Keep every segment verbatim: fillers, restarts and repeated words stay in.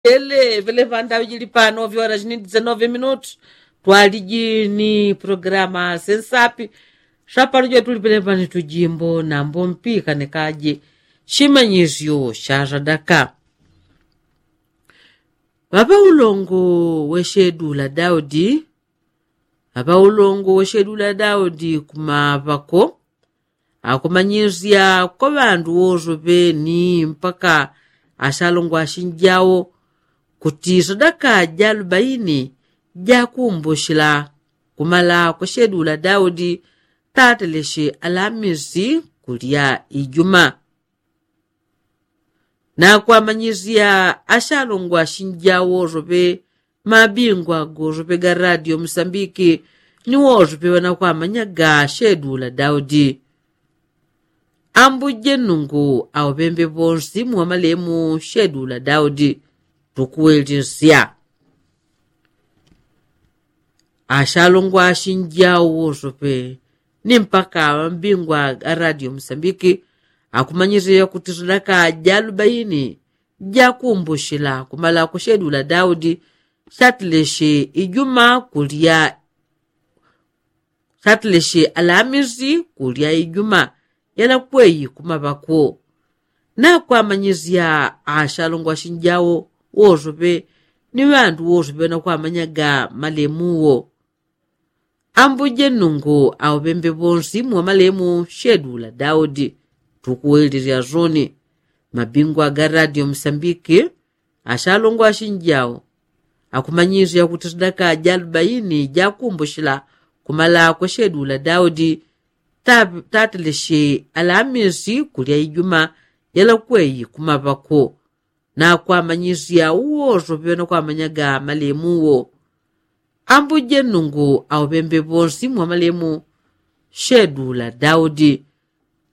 Ele vele vandaujili pano vyora jini dizenove minutu. Twaliji ni programa sensapi. Swapano jotuli pele pani tujimbo nambo mpika nekaje shimanyisyo sha swadaka. Ŵaŵa ulongo weshedula daudi. Ŵaŵa ulongo weshedula daudi kumaŵako akumanyisya kwa ŵandu wosoŵe ni mpaka ashalongo ashinjawo kuti swadaka ja alubaini jakumbushila kumala kweshedula daudi tateleshi alamisi kulya ijuma. Nakwamanyisya ashalongwa shinjawo sope mabingwa gosope ga radio musambiki ni wosope ŵanakwamanyaga shedula daudi. Ambuje nungu aupembe ponsi mwamalemu shedula daudi. Tukuwelesya ashalongwa shinjawo wosope ni mpaka ŵambingwa a radio musambiki akumanyisya kuti swadaka ja alubaini jakumbushila kumala kweshedula daudi shatileshe ijuma kulya shatileshe alamisi kulya ijuma yalakweyi kumaŵakwo. Nakwamanyisya ashalongwa shinjawo wosope ni ŵandu wosope ŵanakwamanyaga malemu wo. Ambuje nungu aupembe ponsi mwamalemu shedula daudi. Tukuwelesya soni mabingwa ga radio musambiki ashalongwa ashinjawo akumanyisya kuti swadaka ja alubaini jakumbushila kumala kweshedula daudi tateleshi alamisi kulya ijuma yalakweyi kumaŵakwo. Nakwamanyisya uwosope ŵanakwamanyaga malemu wo. Ambuje nungu aupembe ponsi mwamalemu shedula daudi.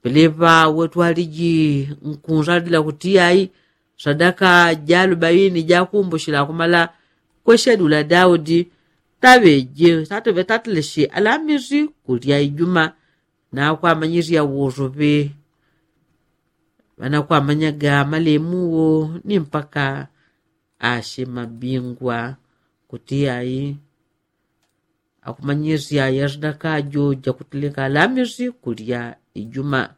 Peleŵa wetwaliji nkunsalila kuti ai swadaka ja alubaini jakumbushila kumala kweshedula daudi taŵeje tatuŵe tateleshi alamisi kulya ijuma. Nakwamanyisya wosope ŵanakwamanyaga malemu wo ni mpaka ashe mabingwa kuti ai akumanyisya yaswadaka jo jakuteleka alamisi kulya ijuma.